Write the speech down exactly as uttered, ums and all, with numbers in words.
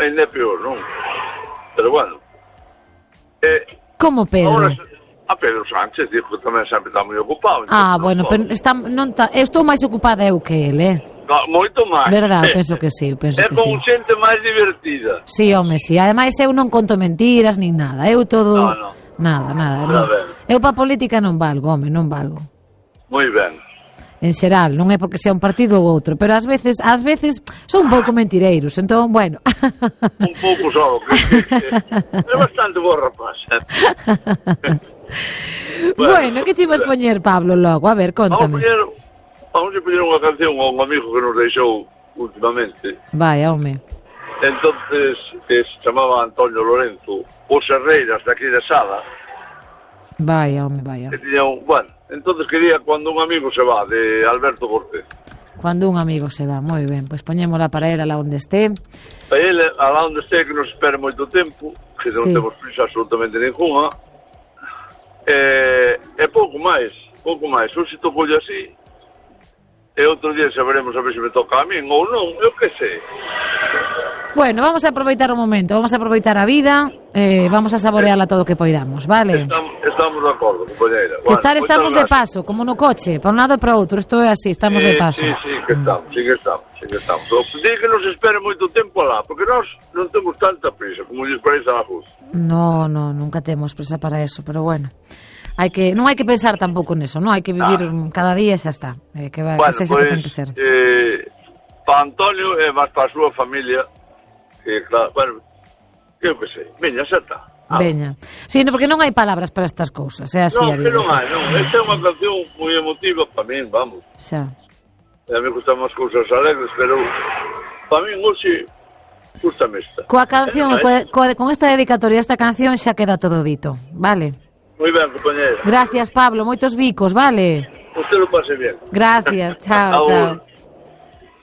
ainda é peor, non? Pero bueno. Eh, Como Pedro? Ahora, a Pedro Sánchez dijo que tamén sempre está moi ocupado. Ah, bueno, pero está, non ta, eu estou máis ocupada eu que ele, eh? No, moito máis. Verdad, penso que sí, penso é que con sí. xente máis divertida. Sí, home, sí. Ademais eu non conto mentiras nin nada. Eu todo... No, no. Nada, nada. Está Non. ben. Eu pa política non valgo, home, non valgo. Moi ben. En xeral, non é porque sea un partido ou outro, pero ás veces, ás veces son un pouco mentireiros, entón, bueno. Un pouco só, que, que, que é bastante boa rapaz. Bueno, que che vas poñer, Pablo, logo? A ver, Vamos a contame. poñer, vamos a poñer unha canción a un amigo que nos deixou últimamente. Vai, home. Entonces, que se chamaba Antonio Lorenzo, os Herreiras de aquí de Sada. Vai, home, vai. Que tiña un, bueno, entonces quería Cuando un amigo se va, de Alberto Cortés. Cuando un amigo se va, moi ben. Pois poñémola para él alá onde este. A ele, alá onde este, que nos espere moito tempo, que non Sí. temos prisa absolutamente ninguna. E, e pouco máis, pouco máis. Hoxe tocoulle así, e outro día saberemos a ver se me toca a min ou non, eu que sei. Bueno, vamos a aproveitar o momento, vamos a aproveitar a vida, eh, vamos a saborearla todo o que poidamos, vale? Estamos, estamos de acordo, compañeira. Que estar estamos de paso, como no coche, para un lado e para outro, isto é así, estamos sí, de paso. Sí, sí, que estamos, sí que estamos, sí que estamos. Pero di que nos espere moito tempo alá, porque nós non temos tanta prisa como lles parece a vos. No, no, nunca temos presa para eso, pero bueno. Hai que, non hai que pensar tampouco neso, non? Hai que vivir Ah. cada día e xa está. Eh, que va, Bueno, que sexa pues, que ten que ser. eh, para Antonio e máis para a súa familia, que claro, bueno, que eu que sei, veña, xa está. Ah. Veña. Sí, no, porque non hai palabras para estas cousas, é así Non, a que vida. non xa hai, está. non. Esta é unha canción moi emotiva para min, vamos. Xa. A mí gustan máis cousas alegres, pero para min hoxe gustame esta. Coa canción, Eh, coa, coa, con esta dedicatoria, esta canción xa queda todo dito, vale? Moi ben, compañero. Gracias, Pablo, moitos bicos, vale? Usted lo pase bien. Gracias, chao, Agur. chao.